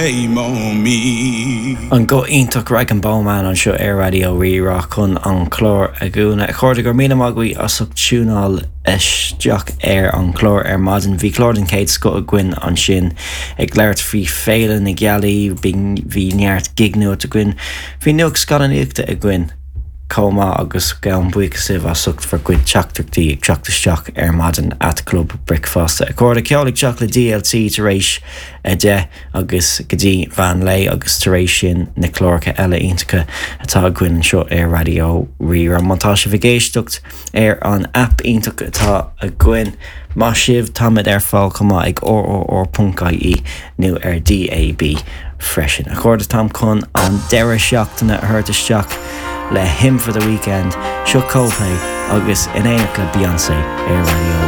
Shame on me. An guth iontach Rag'n'Bone Man anseo ar Raidió Rí-Rá chun an clár a dhúnadh. A chairde, go raibh míle maith agaibh as ucht tiúnáil isteach ar an chlár ar maidin. Bhí clár den chéad scoth againn ansin ag labhairt faoi Féile na Gealaí, bhí neart gig nuacht againn, bhí nuacht scannánaíochta againn chomh maith agus gabhaim buíochas libh as ucht bhur gcuid teachtaireachtaí ag teacht isteach ar maidin at Club Bricfeasta. A chairde, ceol ag teacht le DLC tar éis 10 agus go dtí mheán lae agus tar éis sin na cláracha eile iontacha atá againn anseo ar Raidió Rí-Rá. Má tá sibh ag éisteacht ar an aip iontach atá againn, maith sibh, táimid ar fáil chomh maith ag rrr.ie nó ar DAB freisin. A chairde, táim chun an deireadh seachtaine a thabhairt isteach le Hymn for the Weekend. Seo Coldplay agus in éineacht le Beyoncé ar Raidió.